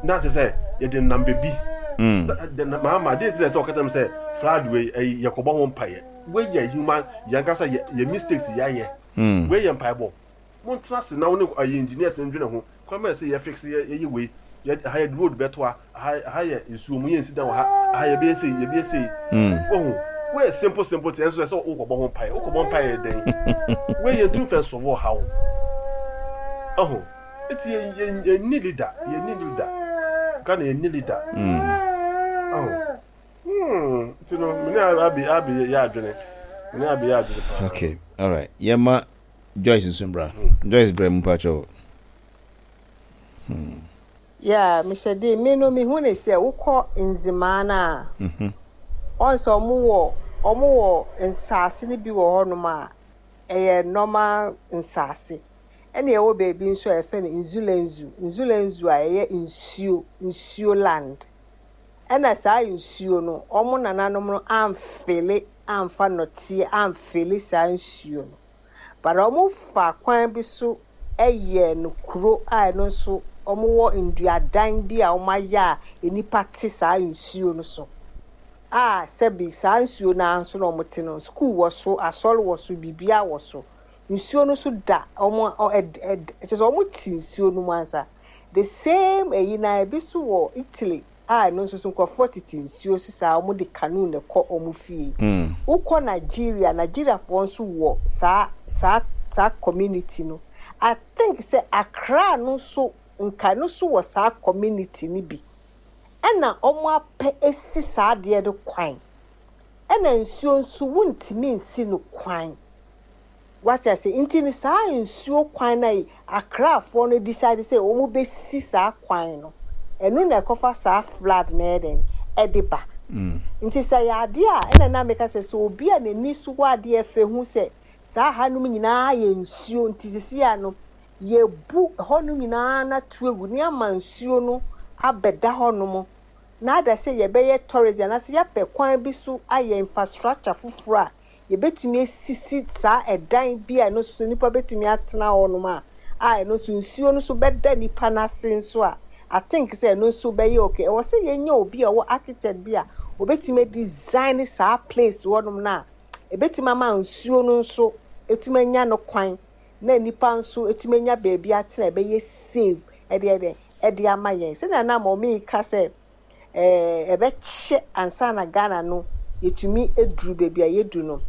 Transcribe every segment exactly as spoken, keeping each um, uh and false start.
Na kyerɛ sɛ yɛde nam baabi maama de ti sɛ sɛ ɔkata mi sɛ flood wei, ɛyi, yɛkɔbɔ ho mpaeɛ. Wei yɛ human yɛn kasa yɛ yɛ mistakes yɛayɛ. Wei yɛ mpaebɔ. Montena ase na wo ne ɛyɛ engineers ndwene ho kwan bɛyɛ sɛ yɛ fix yɛ yɛyɛ wei yɛ ha, yɛ road bɛto ha ha ha, yɛ nsuo mu, yɛ nsi dan wɔ ha ha, yɛbɛyɛ sei, yɛbɛyɛ sei. Wɔho wei yɛ simple simple ti, ɛnso sɛ wokɔbɔ ho mpaeɛ, wokɔbɔ mpaeɛ yɛ dɛn? Wei yɛ ntum fɛ nsɔfo ɔhaw ɔho. Eti yɛ yɛ yɛ ni leader, yɛ ni leader. Ghana yɛ ni leader ɔho. hmm nti no mene abi abi yɛ adwene, mene abi yɛ adwene paa. Okay, alright, yɛma Joyce nso bra. Joyce, brɛ mu pakyɛw. Yeah, Mister D, me no me hu ne sɛ wokɔ Nzimaa no a, ɔn sɛ ɔmo wɔ ɔmo wɔ nsaase no bi wɔ hɔnom a ɛyɛ normal nsaase, ɛna ɛwɔ baabi nso a yɛfrɛ no Nzulenzu Nzulenzu a ɛyɛ nsuo nsuo land. Ɛna saa nsuo no, ɔmo nananom no amfill amfa nnɔteɛ amfill saa nsuo no, but ɔmo fa kwan bi so ɛyɛ no kuro a ɛno nso ɔmo wɔ nduadan bi a ɔmo ayɛ a nnipa te saa nsuo no so a, sɛbi, saa nsuo no ara nso na ɔmo te no. School wɔ so, asɔre wɔ so, biribiara wɔ so. Nsuo no so da ɔmo ɔ ɛd ɛd kyerɛ sɛ ɔmo te nsuo no mu ansa. The same ɛyi na ebi so wɔ Italy a ɛno nso so nkurɔfoɔ tete nsuo so saa, ɔmo de canoe na ɛkɔ ɔmo fie. Wokɔ Nigeria, Nigeriafoɔ nso wɔ saa saa saa community no. I think sɛ Accra no nso nka no nso wɔ saa community no bi, ɛna ɔmo apɛ esi saa adeɛ no kwan. Ɛna nsuo nso wuntumi nsi no kwan, wate ase? Nti no saa nsuo kwan na yi Accrafoɔ no decide sɛ wɔn bɛsi saa kwan no, ɛno na ɛkɔfa saa flood na ɛyɛ dɛn ɛde ba. Nti sɛ yɛ adeɛ a ɛna na meka sɛ sɛ obi a n'ani so wɔ adeɛ fɛ hu sɛ saa hanom nyinaa yɛ nsuo, nti sisi a no yɛbu hɔnom nyinaa na to egu ne ama nsuo no abɛda hɔnom na ada sɛ yɛbɛyɛ tourism anaasɛ yɛapɛ kwan bi so ayɛ infrastructure foforɔ a yɛbɛtumi asisi saa ɛdan bi a ɛno nso nipa bɛtumi atena hɔnom a a ɛno nso nsuo no nso bɛda nipa n'ase nso a, I think sɛ ɛno nso bɛyɛ okay. Ɛwɔ sɛ yɛnya obi a ɔwɔ architect bi a obɛtumi design saa place hɔnom no a ebɛtumi ama nsuo no nso etumi anya no kwan na nipa nso etumi anya beebi atena, ɛbɛyɛ safe ɛde ɛde ɛde ama yɛn. Sɛnea nam ɔmo ka sɛ ɛɛ ɛbɛkyɛ ansa na Ghana no yɛtumi eduru beebi a yɛdu no,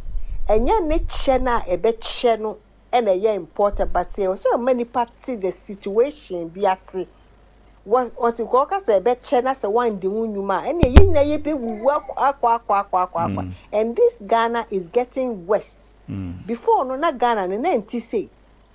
ɛnyɛ ne kyɛ no a ɛbɛkyɛ no ɛna ɛyɛ important, but sɛ ɔsɛ ɔma nipa te the situation bi ase wɔ ɔsi kɔ ɔka sɛ ɛbɛkyɛ na sɛ wandi ho nnwuma a, ɛnna yɛn nyinaa yɛbɛwuwu akɔ akɔ akɔ akɔ akɔ akɔ. And this Ghana is getting worse. Before no na Ghana no na nti sei,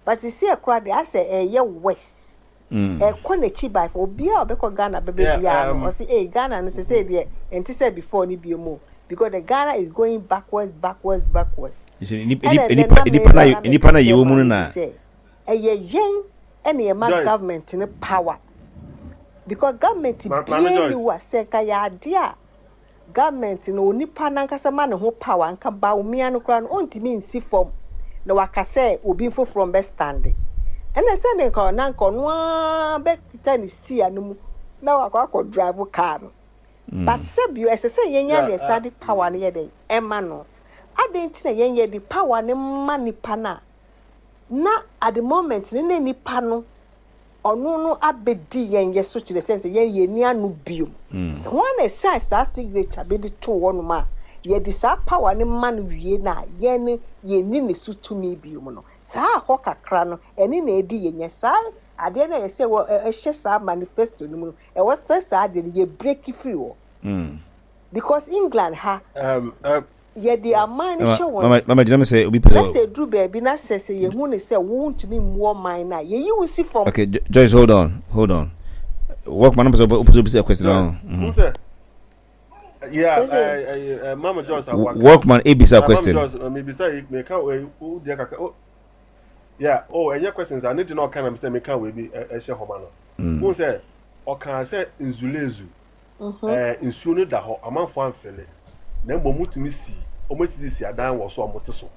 but sisi ɛkora de asɛ ɛyɛ worse, ɛkɔ n'akyi by obiara a ɔbɛkɔ Ghana bɛbɛ biara no, ɔsi ee, Ghana no sese deɛ nti sɛ before ni bi mu, because the Ghana is going backwards, backwards, backwards. Nipa nipa na nipa na yɛwɔ mu no na ɛyɛ yɛn ɛna yɛ ma government no power, because government bie ni wa sɛ nka yɛ adeɛ a government no onipa nankasa ma ne ho power, nka Bawumia no koraa no ɔntumi nsi fam na waka sɛ obi foforɔ mbɛ stand. Ɛna sɛ ne nka ɔna nka ɔno ara bɛkita ne steer no mu na wakɔ akɔ drive car no. But sɛbio, ɛsɛ sɛ yɛn yɛ ne ɛsa de power no yɛ dɛ ɛma no adan nti na yɛn yɛ de power no ma nipa na na at the moment ne na nipa no ɔno no abɛdi yɛn yɛ so, kyerɛ sɛ sɛ yɛn yɛ ni ano biom wɔn na ɛsan saa signature bi de to hɔnom a yɛde saa power no ma no wie na yɛn no yɛn ni ne so tumi biom no, saa ahɔ kakra no ɛne na ɛdi yɛn nyɛ saa adeɛ no a yɛsɛ wɔ ɛhyɛ saa manifesto no mu no, ɛwɔ sɛ saa adeɛ no yɛ break free wɔ because England ha Um, um, yɛde aman no hyɛ wɔn Mama gyina mi sɛ obi pɛ na sɛ eduru baabi na sɛ sɛ yɛhu ne sɛ wontumi mmu ɔman no a, yɛyi wo si fam. Okay, Jo- Joyce, hold on, hold on. Workman, I'm supposed to a question now. Who's that? Yeah, Who's it? uh, uh, uh, Mama Joyce. Awaka. Workman, ebisa Uh, question. Mama Joyce, uh, maybe say me can we who dia kaka. Oh, yeah. Oh, any questions? I need to know kind of say me can we be eh share homa no. Who say ɔka sɛ Nzulezu ɛɛ nsuo no da hɔ, amanfo amfill, na mmom mutumi si ɔmo esisi adan wɔ so a ɔmo te so,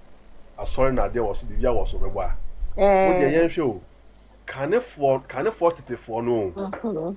asɔre na adeɛ wɔ so, biribi wɔ so bɛbɔ a o deɛ. Ɛɛ yɛn hwɛ o, kanefoɔ kanefoɔ tetefoɔ no o.